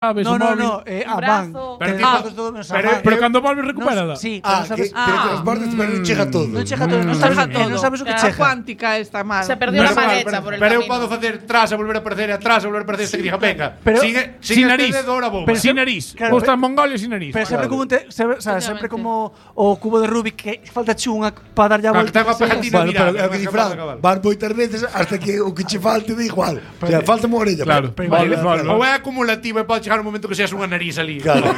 sabes, No, o móvil. van. Pero cando volves recupérala. Sí, pero sabes que transportes, pero non chega todo. Non chega todo, non sabes o que chega. A cuántica está mal. Se perdió la maleta por el Pero eu camino. podo facer tras e volver a aparecer, atrás e volver a aparecer, este que diga, venga, Pero- Sin nariz. Pero Sin nariz. Claro, Vos estás en Mongolia sin nariz. Pero sempre como sempre como o cubo de Rubik que falta unha para darlle a Claro, volta. que ten unha pegatina Bueno, mirada. pero é o que di Fran, van moitas veces hasta que o que che falte de igual. O sea, falta unha orella. Claro. Vale. Ou é acumulativa e pode chegar un momento que seas unha nariz ali. Claro.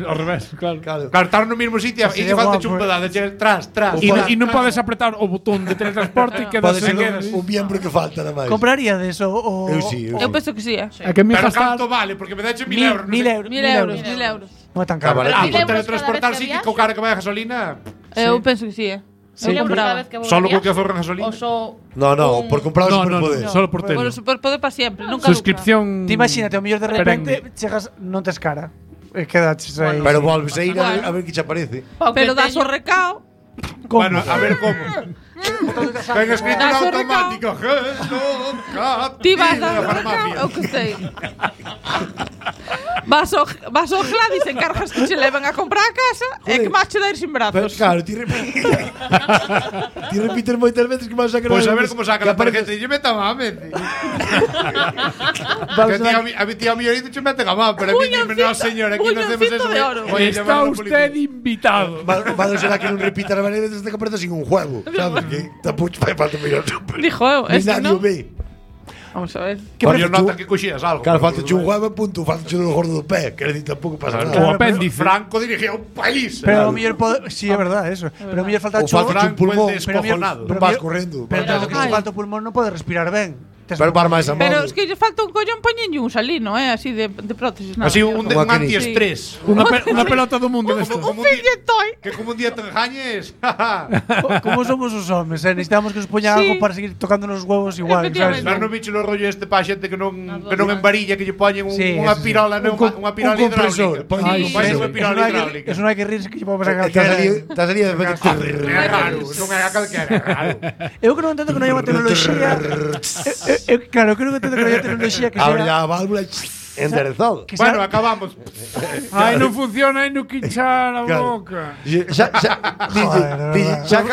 Ao revés, claro. Claro, estar no mesmo sitio e Sería que falta guapo, un pedazo, chegas tras. E non podes apretar o botón de teletransporte e quedas Pode ser sen quedas. un miembro que falta nada máis. Compraría de eso o Eu sí, eu Eu sí. penso que sí, É que me Pero gastar. canto vale, porque me dache 1.000 euros. 1.000 euros. 1.000 euros. Non é tan caro. Cámara. Por 1.000 euros teletransportar cada vez sí que que co cara que vai a gasolina. Eu penso que sí, Sí, Eu cada compraba. vez que Solo co que volvías. aforran gasolina. O so No, por comprar o No, superpoder. solo por tele. Bueno, superpoder para siempre, nunca Suscripción. Ti imagínate, o mellor de repente Perenne. chegas, non tes cara. Quedaches aí. Pero volves a ir a ver que che aparece. Pero das o recao. Bueno, a ver como. Ten escrito Das o automático. Ti vas a a farmacia. Eu que sei. Vas ao Gladys, encargas que che leven a comprar a casa e que máis che dar sin Pero brazos. claro, ti repites moitas veces que vas a sacar. Pois a ver como saca a tarjeta e lle meta a mente. A mi tía Millorito che mete a má, pero a mí dime, no señor, aquí non hacemos eso. de oro. Voy a Está llamar a la usted policía. invitado. Vale, será que non repitas varias veces hasta que aparece sin un juego, sabes? Que tapucho fai falta mirar super. Dijo eu, Ni este nadie non. o ve. Vamos a ver. Por yo nota que coxías algo. Claro, falta un juego, punto, falta do gordo do pé, que decir, tampouco pasa O nada. apéndice. Franco dirigía un país. Pero o mellor sí, é verdade eso. Pero o mellor falta O falta un pulmón, Pero descojonado. pero Vas mira- correndo. Pero tanto que se falta o pulmón non pode respirar ben. Pero para máis a Pero modo. es que lle falta un collón poñenlle un salino, así de prótesis. nada. Así un Como aquel. antiestrés. Unha pelota do mundo desto. Como Un filletoy. Que como un día te engañes. Como somos os homes, necesitamos que nos poñan Sí. algo para seguir tocando nos huevos igual, Efectivamente. sabes? Mas non bicho o rollo este pa xente que non embarilla, que lle poñen Sí, unha eso sí. pirola, non unha pirola un compresor. hidráulica. Poñen Sí, un unha pirola hidráulica. Eso non hai que rirse que lle podemos sacar Estás ali de É raro, non é a calquera, é raro. Eu que non entendo que non hai unha tecnoloxía. Claro, eu creo que entendo que non hai unha tecnoloxía que Abre sea a válvula enderezado. que Bueno, sea acabamos. Ai, non funciona, ai, non quinchar a Claro. boca. Xa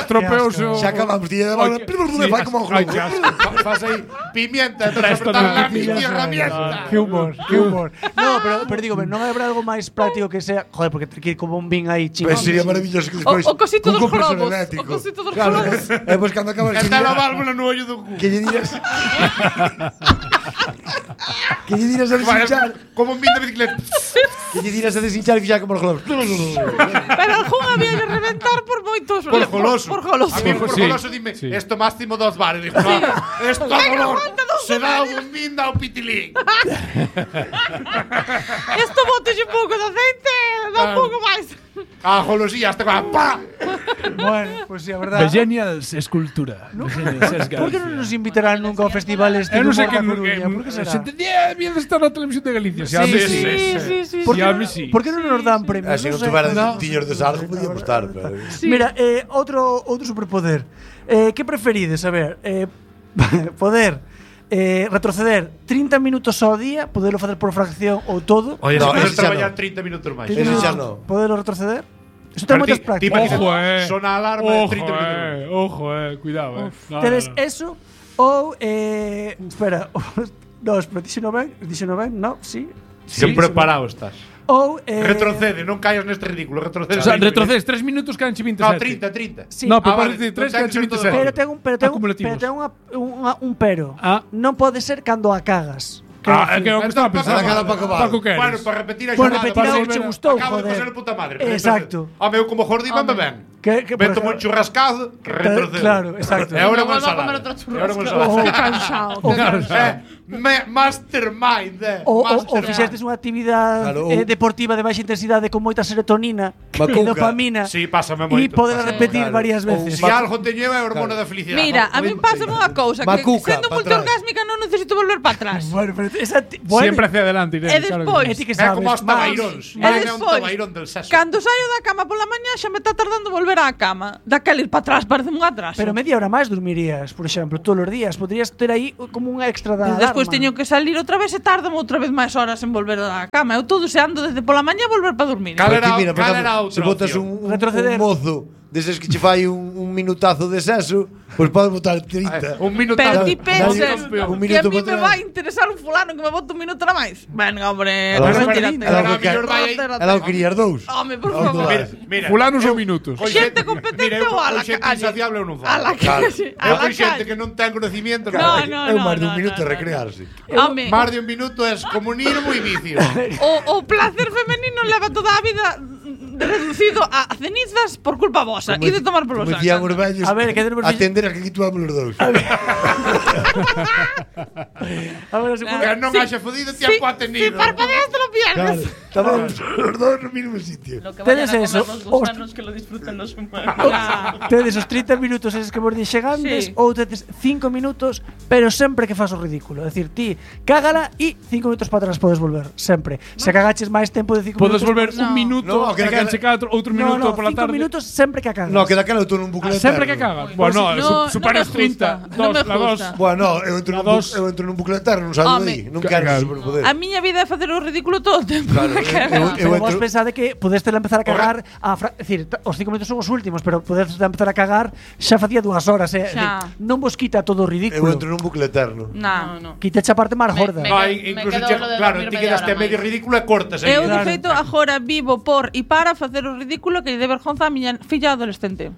Tropeouse o... acabamos de dar válvula. Fai como un Ai, globo. que asco. Fas aí pimienta, Presto transportar la no mi quillas, herramienta. que humor, que humor. No, pero digo, non habrá algo máis práctico que sea, joder, porque ten que ir como un bin aí chingón. Pues sería maravilloso que despois O cosito cun dos compresor globos. eléctrico. O cosito dos Claro, globos. e pois cando acabas Está la válvula no ollo do cu. que lle diras que lle diras a desinchar Como un bin de bicicleta. que lle diras a desinchar e fixar como os globos. Pero algún había de reventar por moitos. Por goloso. Por goloso. A mí por Sí, goloso dime, sí. esto máximo 2 bares. Digo, no, esto dolor. Se dá un bin da un pitilín. Esto botes un pouco de aceite, dá un pouco máis. A golosía hasta con pa. Bueno, pues sí, a verdade. Genials escultura. Por que non nos invitarán nunca ao festival este Eu non sei de que humor da Coruña? Por que será? se entendía bien estar na televisión de Galicia. Sí, a mí Sí. Por Sí, que a non- mí sí. Por que non nos dan premios? Así non sei. tuveras No. tiños de sargo podíamos estar, pero Mira, outro superpoder. Que preferides? A ver, poder retroceder 30 minutos ao día, poderlo facer por fracción ou todo. Oye, No, no, ese xa traballar no. 30 minutos máis. 30 ese minutos, xa no. Poderlo retroceder. Eso ten moitas prácticas. Ojo, Sona a alarma de 30 minutos. Ojo, cuidado, No, Tedes no. eso ou espera, no, espera, dixeno ben, no, sí. Sen preparado estás. Ou Retrocede, non caias neste ridículo. Retrocede. O sea, retrocedes 3 minutos quedan 27. No, 30. Sí. No, pero Ah, vale, parece 3 non ten quedan que ser todo 27. Pero ten un Acumulativos. un pero. Ah. Non pode ser cando a cagas. É que é o que estaba pensando. Para cada Paco Val. Paco queres. Bueno, para repetir a Por xornada. repetir algo que che gustou, Acabo de joder. pasar de puta madre. Exacto. Home, eu como jordi van ben. Que por Meto un ejemplo- churrascado, retrocedo. Claro, exacto. E agora No unha vuelvo a comer ensalada. otro E agora unha churrasco. ensalada. Cansado. Mastermind. Ou Mastermind. fixestes unha actividade Claro, ou- deportiva de baixa intensidade con moita serotonina e Macuca. dopamina. Sí, pásame E moito. poder Pásame repetir claro. varias veces. Si algo teño é a hormona da felicidade. Mira, a mí pasa unha cousa que Macuca, sendo pa multiorgásmica non necesito volver para atrás. Bueno, pero Siempre hacia adelante, Irene. E claro que despois- E ti que É sabes. como os Más. tabairóns. E É un despois, tabairón del sexo. cando saio da cama pola mañá xa me está tardando volver volver á cama, daquela ir para atrás parece un atraso. Pero media hora máis dormirías, por exemplo, todos os días. Podrías ter aí como un extra da E despois alarma. teño que salir outra vez e tardan outra vez máis horas en volver á cama. Eu todo seando desde pola mañá volver para dormir. Cal era- Aquí, mira, por cal exemplo, era outra se botas opción? un Retroceder. mozo deses que che fai un minutazo de sexo, pois podes botar 30. Un minuto. Pero Claro, ti pensas un que a minuto mí para me atrás. vai interesar un fulano que me bote un minuto na máis. Venga, hombre, Ela non retírate. quería- ela que quer- Retírate. Ela o querías dous. Home, por Onde favor. vas? Mira, Fulanos ou minutos. Con Xente competente mira, ou a la xente calle? insaciable eu non A la falo. calle. A Eu la con xente calle. que non ten conocimiento. No, non. no, É no. máis dun no, minuto no, no. recrearse. Home, Máis de un minuto é comunismo e vicio. o placer femenino leva toda a vida reducido a cenizas por culpa vosa. E de tomar polo Como saco. dicían os vellos, A ver, que tenemos- atender as que aquí tuamos os dous. A ver, se Que non haxa fodido ti a cuate Si nido. parpadeas te lo Claro, pierdes. estamos os dous no mismo sitio. Lo que Tedes vayan a eso, comer los gusanos que lo disfruten los humanos. tedes os 30 minutos eses que vos dixen antes, Sí. ou tedes 5 minutos, pero sempre que fas o ridículo. É dicir, ti cágala e 5 minutos para atrás podes volver, sempre. Se cagaches máis tempo de 5 minutos, Podes volver No. un minuto No, e que daquela- quedarse cada outro minuto No, pola 5 tarde. minutos sempre que cagas. No, que daquela eu estou nun bucle Sempre que eterno. cagas. Bueno, no, supera no os me 30. gusta, no me La dos. gusta. Bueno, eu entro A nun dos. eu entro nun bucle eterno, non saio Home. de aí. Non quero ese superpoder. A miña vida é facer o ridículo todo o tempo. Claro, Pero vos entro- pensade que podeste empezar a cagar é dicir, os 5 minutos son os últimos, pero podeste empezar a cagar xa facía 2 horas, é dicir, Xa. non vos quita todo o eu ridículo. entro nun bucle eterno. No, no. Quita a parte máis gorda. Me- No, me incluso quedo che, lo de claro, dormir ti media quedaste hora medio máis. ridículo e cortas aí. Eu, de Claro. feito, agora vivo por e para facer o ridículo que lle dé vergonza a miña filla adolescente.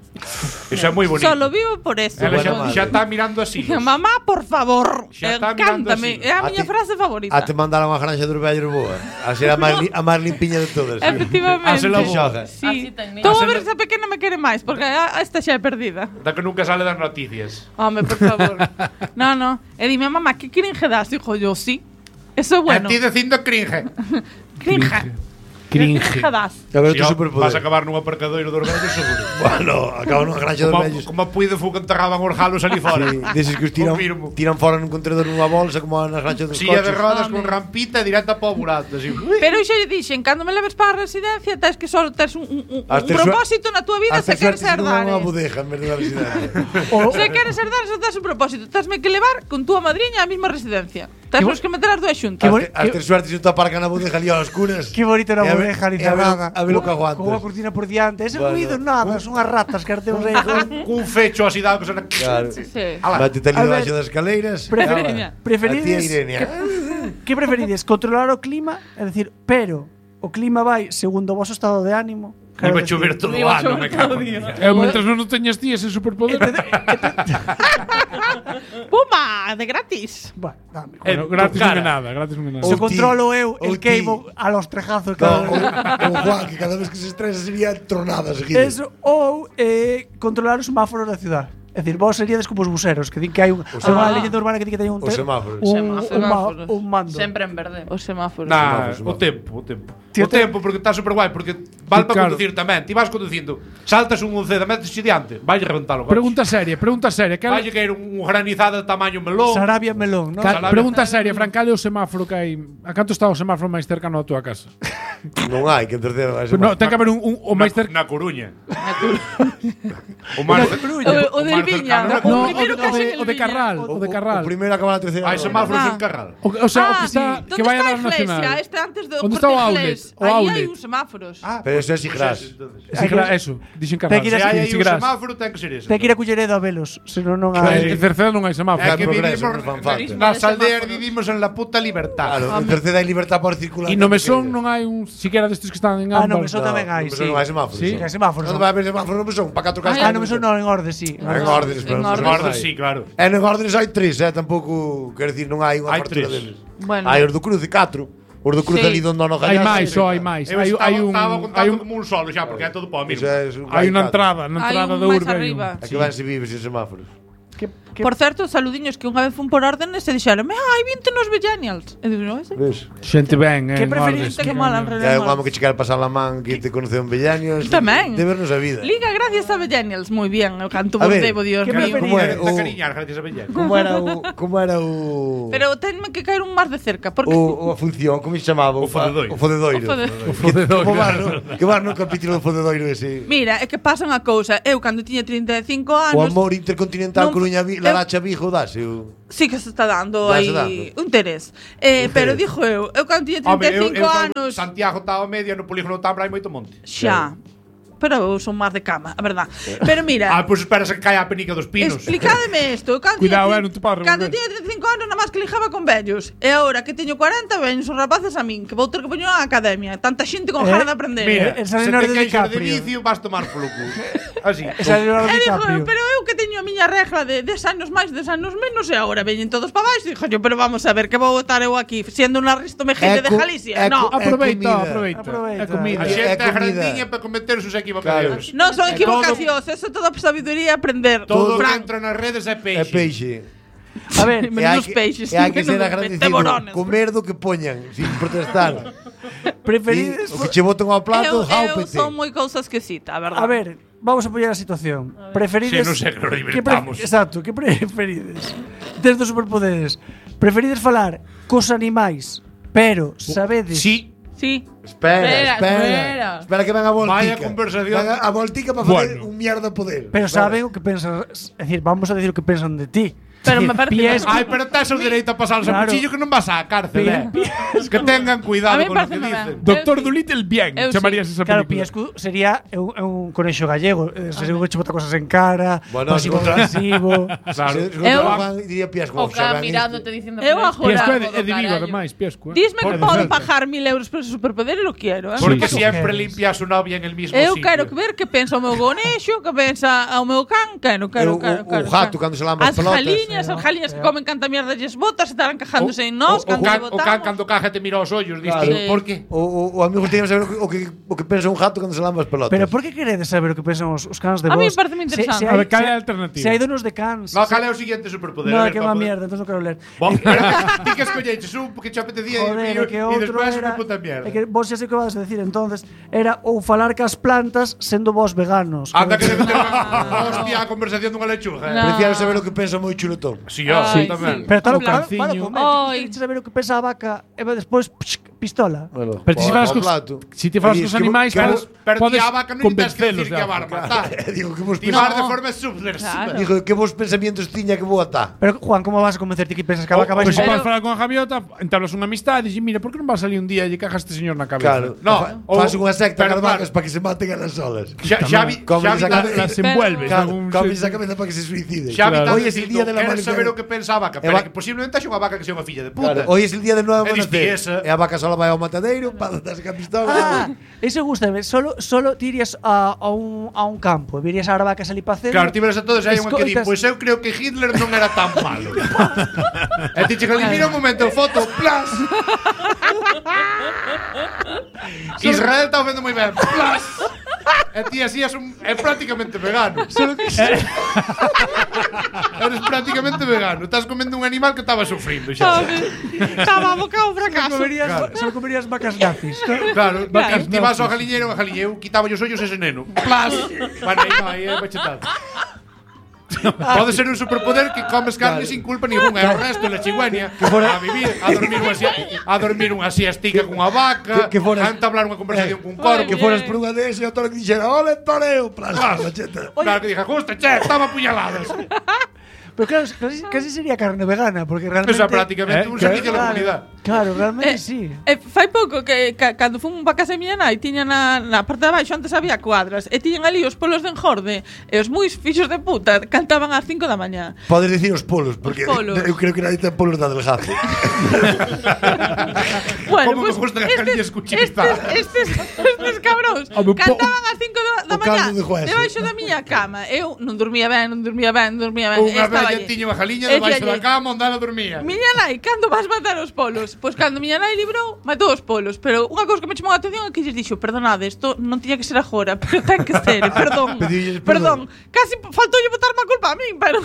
Iso é moi bonito. Solo vivo por eso. Ela Buena xa madre. está mirando así. Mamá, por favor, Xa está mirando cántame. así. É a A miña ti- frase favorita. A te mandaron a granja dos vellos boa. A ser a máis limpiña de todas. Efectivamente. Hásela boa. boa. Sí. Así ten, Estou a Hásela- ver se a pequena me quere máis, porque esta xa é perdida. Da que nunca sale das noticias. Home, por favor. No. E dime, mamá, que cringe das? Dijo yo, sí. Eso é bueno. A ti dicindo cringe. Cringe. Cringe. Cringe das. A ver, Si, tu vas a superpoder. acabar nun aparcadoiro dos vellos seguro. Bueno, acabo nunha granja dos Como, vellos. como puido fu que enterraban os galos ali fora. Sí, deses que os tiran, Confirmo. tiran fora nun contenedor nunha bolsa como nas granxas dos Silla de coches. rodas con rampita e directa para o burato. Así. Pero xa lle dixen, cando me leves para a residencia, tes que só tes un As terzo- propósito na túa vida Hasta se queres suerte se non é herdar. unha bodega en vez de unha residencia. Se queres herdar, só tes un propósito. Tesme que levar con túa madriña á mesma residencia. Tesmos que meter as dúas xuntas. As ter suerte se te aparca na bodega ali aos curas. Que bonito na E a ver- bodega, ni e a ver- nada. A ver o que aguantas. Con unha cortina por diante. Ese Bueno. ruido, nada, son as ratas que arteos aí. Cun fecho así dado que sona. Claro. Sí. Métete ali A ver, debaixo das escaleiras. Preferiría- A Preferides tía Irene. que preferides? Controlar o clima, é dicir, pero o clima vai segundo o voso estado de ánimo. Iba a decir, chover todo o Iba a ano, chover me cago. todo o día. Eu, mientras non teñas ti ese superpoder. Puma, de gratis. Bueno, dame. Bueno, En gratis tu non é cara. nada, gratis non é nada. Se Ou ti, controlo eu, ou el queimo ti. a los trejazos. No, cada- o Juan, que cada vez que se estresa sería tronada seguida. Eso, ou controlar os semáforos da ciudad. É dicir, vos seríades como os buseros, que din que hai un, hai unha leyenda urbana que di que ten un, Os semáforos. un mando. Sempre en verde. Os semáforos. Nah, Semáforos, o tempo, o tempo. Tío, O tempo, porque está super guai, porque vale para Claro. conducir tamén. Ti vas conducindo, saltas un unceda, metes diante, vai reventalo. Pregunta seria. Vai caer un granizado de tamaño melón. Sarabia melón, non? Salabia. Pregunta seria, Fran, cal é o semáforo que hai? A canto está o semáforo máis cercano á túa casa? Non hai que en terceiro. No, ten que haber un o máis cercano. Na Coruña. O máis O del Viña. cercano na O No, Coruña. primeiro que haxe en o de Viña. Carral, o de Carral. O primeiro acaba na terceira. Hai semáforos Ah. en Carral. O sea, o que está que vai a Donde dar está a iglesia? nacional. Este antes do Onde está o Corte outlet? Inglés. O Aí hai outlet. uns semáforos. Pero eso é Sigras. Eso, dixen Carral. Ten que ir Se a- hai aí sí, un gras. semáforo, ten que ser ese. Ten que ir a Culleredo a velos, senón non hai. En Cerceda non hai semáforo. É Hai que progreso, vivimos non fan falta. nas aldeas vivimos en la puta libertad. Claro, en terceira hai libertad para circular. E no Mesón non hai un siquiera destes que están en Ah, ámbar. no Mesón tamén hai, sí. Non hai semáforos. Sí. Hai semáforos. Non vai haber semáforos no Mesón, para 4 casas. Ah, no Mesón non, en orde, sí. En órdenes, pero En non órdenes. Guarda, hai. sí, claro. E en órdenes hai 3, tampouco, quero dicir, non hai unha Hai fartura 3. deles. Bueno. Hai os do Cruce 4. Os do Cruce Sí. ali donde non Hai gallas. máis, só hai máis. Eu Hai un estaba hai contando un como un solo xa, porque é todo para o mismo. Eso é un hai unha catro. entrada, na Hai entrada un do máis urbe. hai un- arriba. É que van se vive sin semáforos. Que Por certo, saludiños que unha vez fun por órdenes e dixeronme, ai, vinte nos Millennials. E digo, non, Ves? Xente ben, Que orden, preferís? que mal alrededor. Que hai un amo que che quer pasar la man que te conoce un Bellanios. Tamén. De vernos a vida. Liga gracias a Millennials, moi bien, o canto A vos ver, debo, Dios que mío. preferís? Como é Te cariñar, gracias a Bellán. Como era o Pero tenme que caer un máis de cerca, porque a función, como se chamaba? O fodedoiro. O fodedoiro. O fodedoiro. Que vas no capítulo do fodedoiro ese. mira, é que pasa unha cousa, eu cando tiña 35 O anos, amor intercontinental non- Coruña eu- Laracha Vigo dase. sí que se está dando Dase aí dando. un interés. Pero dixo eu cando tiña 35 anos, Santiago estaba media no polígono Tambra hai moito monte. xa. Pero eu son máis de cama, a verdad. Pero mira, Pois esperas que caia a penica dos pinos. explicádeme isto. Cando Cuidado, tiña- non te podes Cando revolver. tiña 35 anos, nada máis que lijaba con vellos. E agora que teño 40, veñen os rapaces a min, que vou ter que poñer á academia. Tanta xente con gana de aprender. Mira, Esa se Leonardo te queixas de DiCaprio. vicio, vas tomar polo cu. Así. Esa Leonardo E digo, DiCaprio. pero eu que teño a miña regla de 10 anos máis, 10 anos menos, e agora veñen todos para baixo. Dixo yo, pero vamos a ver, que vou estar eu aquí, siendo unha Risto Mejide de Galicia? No, Aproveita, comida. aproveita. É A comida. xente É é comida. grandiña para cometer sus equivocacións. non son É equivocacións, eso é todo sabiduría aprender. Todo que Frank. entra nas redes é É peixe. peixe. A ver, Menos peixes. E hai que ser menos agradecido. teborones. Comer do que poñan, sin protestar. preferides... O que che botan ao plato, Eu jáupete. son moi cousa esquisita, a verdade. A ver, vamos a apoiar a situación. Preferides... Sí, non sei que nos que divertamos. Exacto, que preferides? Desde os superpoderes. Preferides falar cos animais, pero sabedes... Sí. Sí. Espera. Espera. Que venga a voltica. Vaya conversación. Venga a voltica para facer Bueno. un mierda poder. Pero Espera. saben o que pensan... É dicir, vamos a decir o que pensan de ti. Pero É dicir, me parece- Piesco, Ai, pero tes o dereito a pasarlos a Claro. cuchillo que non vas á cárcel, Que tengan A cuidado mí con lo que pareceme dicen. ben. Doctor Dolittle bien, Eu chamarías esa Claro, película. Piesco sería un conexo gallego. Seguro que che bota cosas en cara, Bueno, pasivo contra- agresivo. Claro. Se Eu- Juan diría Piasco. O Can mirándote diciendo Eu "Pero agora- Piesco bravo é de do Vigo, carallo". ademais, Piesco. Disme que Por podo defecto. pagar 1000 euros por ese superpoder e lo quiero, Porque Sí. siempre Queres. limpia a su novia en el mismo Eu sitio. quero ver que pensa o meu gonexo, que pensa o meu can, quero. O gato cando se lamba as pelotas. As jaliñas que comen canta mierda lles botas, estarán cajándose en O nós, cando can, lle o can botamos. cando caja te mira aos ollos, Claro. diste, Sí. por qué? O amigo tiene que saber o que pensa un gato cando se lamba as pelotas. Pero por que queredes saber o que pensan os cans de A vos? mí pareceme interesante. A ver, cal é a alternativa? Se hai donos de cans. No, cal é o siguiente superpoder? No, A ver, que pa má poder- mierda, entón non quero ler. Bo, pero ti que escolleches un que te apetecía Joder, que e outro despois era... unha puta mierda. É que vos xa sei que vas a decir, entonces era ou falar cas plantas sendo vos veganos. Anda que debe ter hostia a conversación dunha lechuga. No. Prefiero saber o que pensa moi chuletón. Si, yo, Ai, tamén. Pero tal O para canciño. comer. Ai. Queres saber o que pensa a vaca e despois pistola. Bueno, Pero ti se falas ao cos, plato. si te falas E cos dis, animais, que podes, Pero ti podes a vaca non tens que convencelos dicir que a barba, tá? Digo que vos Ti vas de No. forma subversiva. Claro. Digo que vos pensamientos tiña que vou atar. Pero Juan, como vas a convencerte que pensas que a vaca vai Pois se Pero- podes falar con a gaviota, entablas unha amistade e dixes, mira, por que non vas salir un día e lle cajas a este señor na cabeza? Claro. No, Faz unha secta pero cas claro. vacas para que se maten a las solas. Xavi, Como esa cabeza- Las envuelves. Claro, algún comes xeito. a cabeza para que se suicide. Xavi, Claro. Hoy es el día de la queres madre. saber o que pensa a vaca, pero va- que posiblemente haxe unha vaca que sea unha filla de puta. Claro, hoy es el día del nuevo E diste amanecer. esa. E a vaca sola vai ao matadeiro, para darse a pistola. Ah, eso gustame. Solo ti irías a un campo, virías a vacas ali para Claro, ti veres a todos hai unha que di, Escoitas- pois eu creo que Hitler non era tan malo. E ti che mira un momento, foto, plas. Israel está vendo moi ben, plas. E ti así é prácticamente vegano. Eres prácticamente vegano. Estás comendo un animal que estaba sufrindo xa. Estaba abocado ao fracaso. Solo comerías vacas nazis. Claro, Vacas ti vas ao nazis. galiñeiro, a galiña, eu quitaba os ollos ese neno. Plas. Bueno, aí é bachetado. Pode ser un superpoder que comes carne sin culpa ninguna. E o resto, la chigüeña, a vivir, a dormir unha siestica cunha vaca, que foras- a entablar unha conversación cun corvo. Que foras por unha dese e o toro que dixera, ole, toreo, plas, macheta. Claro que dije, justo, che, estaba puñaladas. Pero claro, casi sería carne vegana, porque realmente... Eso é prácticamente un servicio a la comunidad. Claro, realmente sí. Fai pouco que cando fun pa casa miña nai tiña na parte de abaixo antes había cuadras e tiñan ali os polos de engorde e os moi fixos de puta cantaban ás 5 da mañá. Podes dicir os polos, porque Os polos. eu creo que nadie ten polos da delgazo. Como Bueno, me pues gustan as cariñas cuchitas. estes cabróns Home, cantaban ás 5 da o mañá caldo de hueso. debaixo da miña cama. Eu non dormía ben. Unha vez nai tiña unha jaliña debaixo da cama onde ela dormía. Miña nai, cando vas matar os polos? Pois cando miña nai librou, matou os polos. Pero unha cousa que me chamou a atención é que lles dixo: perdonade, isto non tiña que ser agora, pero ten que ser, perdón. Casi faltoulle botarme a culpa a min, pero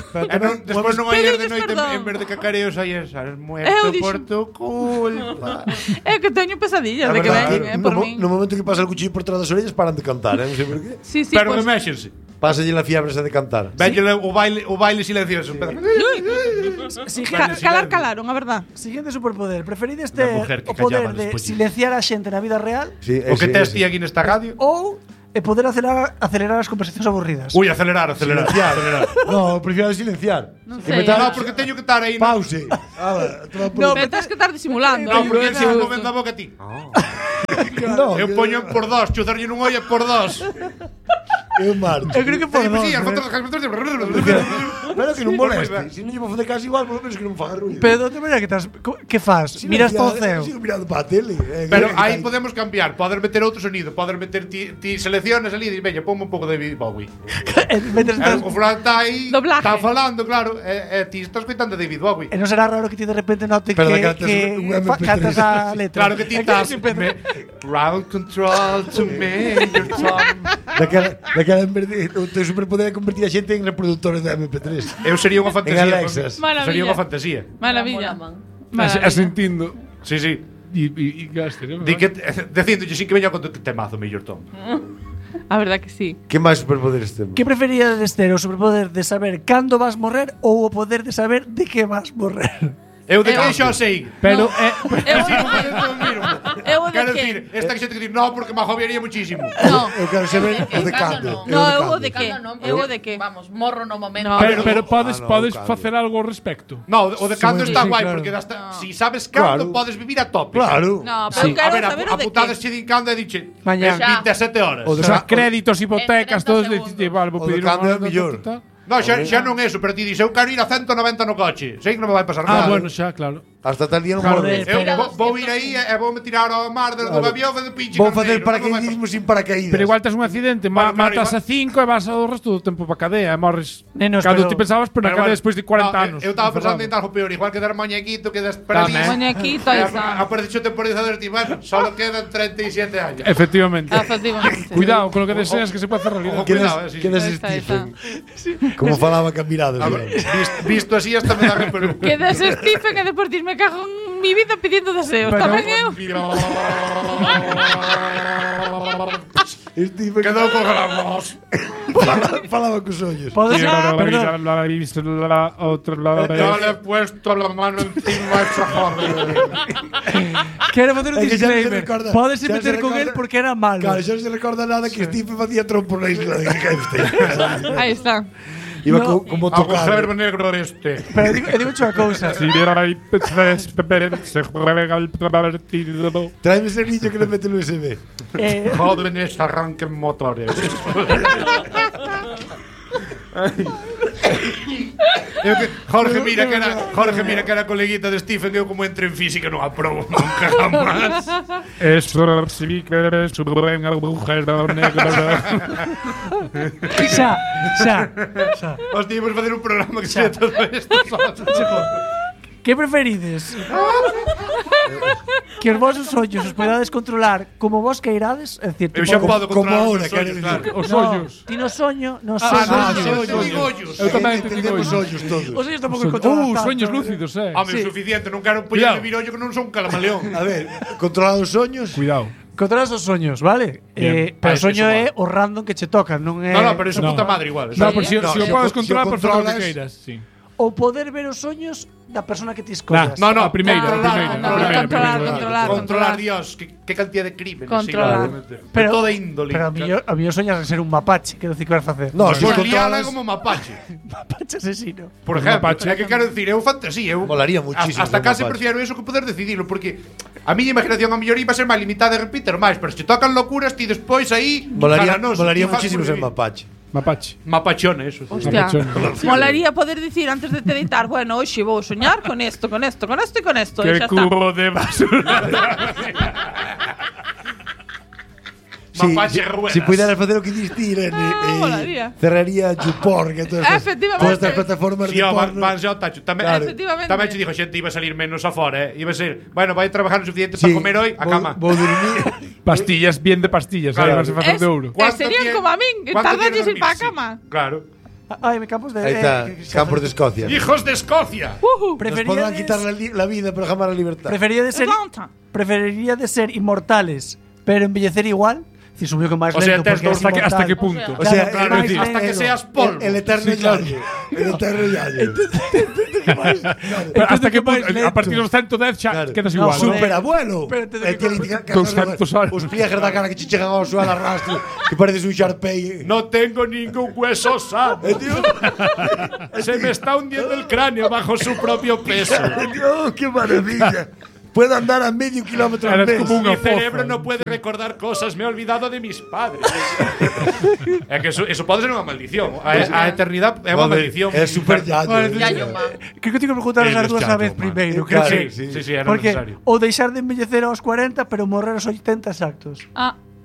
despois non hai de noite en vez de cacareos aí esas muerto por tu culpa. É que teño pesadillas de que veñen, por min. No momento que pasa el cuchillo por trás das orellas paran de cantar, non sei por qué. Sí, pero pues, reméxense. Pásalle la fiebre esa de cantar. Véñele o baile silencioso. Calaron, a verdad. Siguiente superpoder. Preferides ter o poder de silenciar a xente na vida real? Sí, o que tes ti aquí nesta radio? Ou poder acelerar as conversacións aburridas? Ui, acelerar. No, prefiero silenciar. Non sei. No, porque teño que estar aí. Pause. No, pero tens que estar disimulando. No, porque se non movendo a boca a ti. No, eu poño por dos, chuzarlle nun ollo por dos. Eu marcho. Eu creo que por dos. Pero que non moleste. Se non lle vou facer caso igual, por lo menos que non faga ruido. Pero de outra maneira que fas? Miras para o ceo. Sigo mirando para a tele. Pero aí podemos cambiar. Poder meter outro sonido. Poder meter ti selecciones ali e dices, veña, ponme un pouco de David Bowie. O fulano está aí, está falando, claro. Ti estás escoitando David Bowie. E non será raro que ti de repente note que cantas a letra. Claro que ti estás ground control to me. Daquela en vez de o teu superpoder é convertir a xente en reproductores de MP3. Eu sería unha fantasía. En Alexas. Sería unha fantasía. Maravilla. Asentindo. Sí. E gaste, non? Dicíndolle sin que veña con temazo, mellor Tom. A verdad que sí. Que máis superpoderes temos? Que preferíades ter, o superpoder de saber cando vas morrer ou o poder de saber de que vas morrer? Eu de que xa sei. Pero Quero dicir, esta que xente que dir, no, porque me agobiaría muchísimo. No. Eu quero saber o de cando. No, eu o de que. Eu o de que. Vamos, morro no momento. Pero podes facer algo ao respecto. No, o de cando está guai, porque si sabes cando podes vivir a tope. Claro. No, pero quero saber o de que. Apuntadas che din cando e diche Mañá 27 horas. O sea, créditos, hipotecas, todos segundos. vale, vou O de pedir cando é unha mellor. No, xa non é eso, pero ti dices, eu quero ir a 190 no coche. Sei que non me vai pasar nada. bueno, xa, claro. Hasta tal día non Joder, morro. Vou ir aí e vou me tirar ao mar desde o avión de pinche. Vou facer paracaidismo sin paracaídas. Pero igual tes un accidente, matas a 5 e vas ao resto do tempo para cadea e morres. Nenos, Cando pero- ti pensabas, pero na cadea despois de 40 anos. Eu estaba pensando en algo peor, igual que dar moñequito, que das paradís. Moñequito, aí está. Apareció temporizador e ti, bueno, solo quedan 37 años. Efectivamente. Efectivamente. Cuidado con lo que deseas que se puede hacer realidad. Quedas Stephen. Como falaba Camirados. Visto así hasta me da pero Quedas Stephen e depois dis, me cago en mi vida pidiendo deseos. Tamén eu. Stephen quedou con gramos. falaba cos ollos. Podes, perdón, Yo le he puesto la mano encima a esa joder. quero facer un É que xa non se disclaimer. recorda- Podes xa non se meter con recorda- el porque era malo. Claro, xa non se recorda nada que Stephen facía trompo na isla de Kempstein. Aí está. Iba No. como Agujero tocado. negro este. Pero digo unha cousa. Tráeme ese niño que le mete el USB. Jóvenes arranquen motores. Jorge mira que era coleguita de Stephen. Eu como entro en física non aprobo nunca jamás. Eso sí que eres un buen agujero negro. Xa. Hostia, íbamos a facer un programa que sea todo esto. Que preferides? Que os vosos ollos os podades controlar como vos queirades, é dicir, Eu xa podo como controlar ahora, os quero ollos, dicir. claro. Os ollos. Ti no soño, no Eu soño. digo ollos. Eu tamén te digo Entendemos ollos. ollos todos. Os ollos tampouco controlan tanto. Sueños lúcidos, Home, Sí. suficiente, non quero poñer vivir ollo que non son un calamaleón. A ver, controlar os soños. Cuidado. Controlas os soños, vale? Bien. Pero o Eso soño vale. é o random que che toca, non é... No, pero eso No. puta madre igual. No, pero si No, o si podes o controlar, por favor, controlas- que queiras. Sí. O poder ver os soños da persona que ti escollas. No, A primeira, Controlar, Dios, qué cantidad de crímenes. Controlar. Pero toda índole. Pero a mí soñas en ser un mapache, quero dicir que vas facer. No, si Pues os liala controlas, como mapache. Mapache asesino. Por Un ejemplo, mapache. é que quero dicir, eu fantasía, eu Molaría muchísimo Hasta ser casi mapache. prefiero eso que poder decidirlo, porque a miña imaginación a mellor iba a ser máis limitada e repito máis, pero se te tocan locuras ti despois aí molaría jaranoso, molaría ti fas muchísimo ser sobrevivir. mapache. Mapache. Mapachón, eso. Hostia. Mapachón. Molaría poder dicir antes de te deitar, bueno, hoxe vou soñar con esto, con esto, con esto e con esto. E Que xa está. cubo de basura. Mapache ruedas. Si puderas facer o que diste, molaría. cerraría YouPorn, que todas estas plataformas Sí, de porno. van xa ao tacho. Tamén Efectivamente. che dixo xente iba a salir menos afora, Iba a ser, bueno, vai trabajar o suficiente para comer hoy a cama. Vou dormir. Pastillas, bien de pastillas, Claro. vas a facer de ouro. Serían como a min, tardaches ir para a cama. Claro. Ai, me campos de... Aí está, Campos de Escocia. ¡Hijos de Escocia! Nos podrán quitar la vida, pero jamás la libertad. Preferiría de ser inmortales, pero envellecer igual. Si subió que máis O sea, lento porque es inmortal. hasta que punto. O sea, Claro, claro, máis hasta que lento. seas polvo. El eterno yayo. El eterno yayo. Pero hasta que máis punto, a lento. partir dos 110 xa Claro. quedas No, igual. Superabuelo. Pero entonces, Dos tantos anos. Os pliegues da cara que che chegan ao suelo a rastro, que pareces un Sharpei. No tengo ningún hueso sano. Se me está hundiendo el cráneo bajo su propio peso. ¡Oh, qué maravilla! Puedo andar a medio kilómetro al Eres mes. como Mi unha cerebro fofa. no puede recordar cosas, me he olvidado de mis padres. É que eso pode ser unha maldición. A eternidade é unha maldición. É super yayo. Yayo, ma. Creo que tengo que preguntar as Eres dúas a chato, vez man. primeiro. Creo Claro, que Sí, era porque necesario. ou deixar de envellecer aos 40, pero morrer aos 80 exactos.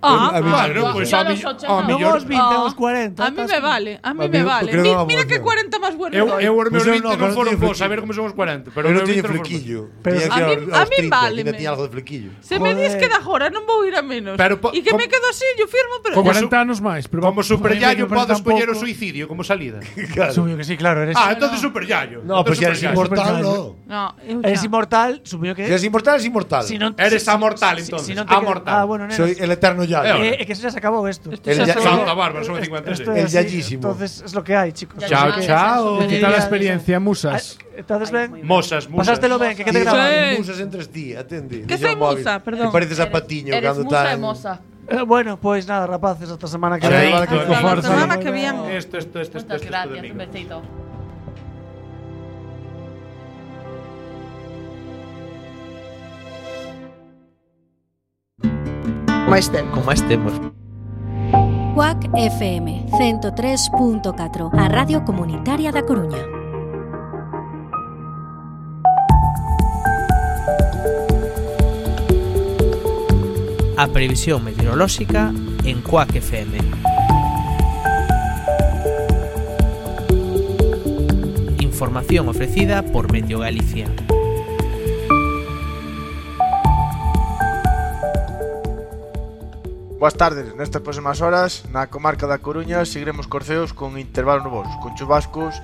Bueno, pues Ya a los 80. Non millor aos 20, aos 40. A mí me vale, a mí A me mí, vale. creo que é unha Mira que boa 40 más bueno. Eu os meus Pues eu 20 non, non claro, foron teño bons, flequillo. a ver como son os 40. Pero Pero os non meus teño 20 non foron flequillo. Pero Tiña a que mí- aos a mí 30, váleme. ainda tiña algo de flequillo. Se me dis Joder. que da jora, non vou ir a menos. Pero E que me quedo así, yo firmo, pero... Con 40 anos máis, pero Como super yayo me parece podo escoller o tampouco. suicidio como salida. Claro. Supoño que sí, claro, eres Entonces super yayo. No, pues si eres inmortal, no. No, eres inmortal, supoño que Si eres inmortal, es inmortal. si non Eres amortal, entonces. si non te Amortal. bueno, nena. Soy el eterno yayo. Que eso ya se acabó esto. El ya- Santa Bárbara, son 53. Esto es El así, yayísimo. Entonces es lo que hay, chicos. Chao, Chao, ¿qué tal la Ya, experiencia, musas? ¿Estás bien? Mosas. Pasástelo ben, que te Sí, grabas. Sí. musas entre ti, atende. Que Deixa soy o móvil. musa, perdón. Que pareces a Patiño Eres cando musa está e moza. Bueno, pues nada, rapaces, hasta semana que Chaito. viene. Vale, Con La fuerza. semana que viene. Esto Muchas de gracias, mí. un besito. Con máis temos. Cuac FM 103.4, a Radio Comunitaria da Coruña. A previsión meteorolóxica en Cuac FM. Información ofrecida por Meteo Galicia. Boas tardes, nestas próximas horas na comarca da Coruña seguiremos corceos con intervalos nubosos, con chubascos,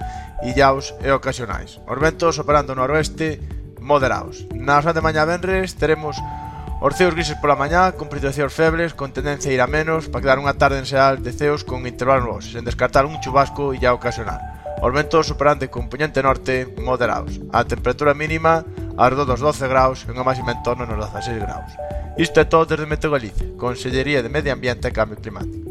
illaos e ocasionais. Os ventos operando no noroeste moderados. Na hora de mañá venres teremos os ceos grises pola mañá con precipitacións febles con tendencia a ir a menos para quedar unha tarde en xeral de ceos con intervalos nubosos, sen descartar un chubasco illao ocasional. Os ventos operando con poñente norte moderados. A temperatura mínima arredor dos 12 graus e unha máxima en torno nos 16 graus. Isto é todo desde Meteo Galicia, Consellería de Medio Ambiente e Cambio Climático.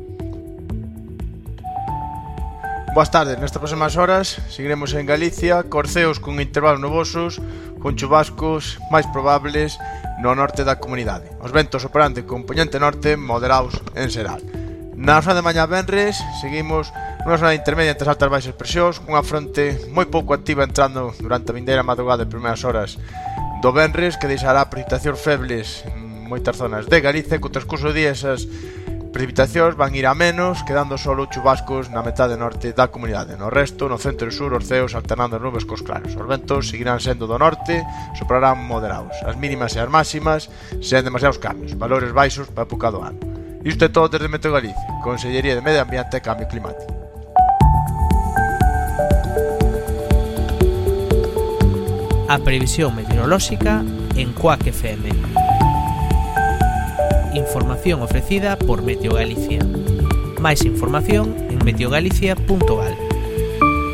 Boas tardes, nestas próximas horas seguiremos en Galicia, corceos con intervalos nubosos, con chubascos máis probables no norte da comunidade. Os ventos operando con poñente norte moderados en xeral. Na zona de mañá venres seguimos nunha zona intermedia entre as altas e baixas presións, cunha fronte moi pouco activa entrando durante a vindeira madrugada e primeiras horas do venres, que deixará precipitacións febles en moitas zonas de Galicia. Co transcurso do día esas precipitacións van ir a menos, quedando solo chubascos na metade norte da comunidade. No resto, no centro e sur, os ceos alternando as nubes cos claros. Os ventos seguirán sendo do norte, soprarán moderados. As mínimas e as máximas sen demasiados cambios, valores baixos para a época do ano. Isto é todo desde Meteo Galicia, Consellería de Medio Ambiente e Cambio Climático. A previsión meteorolóxica en Cuac FM. Información ofrecida por Meteo Galicia. Máis información en meteogalicia.gal.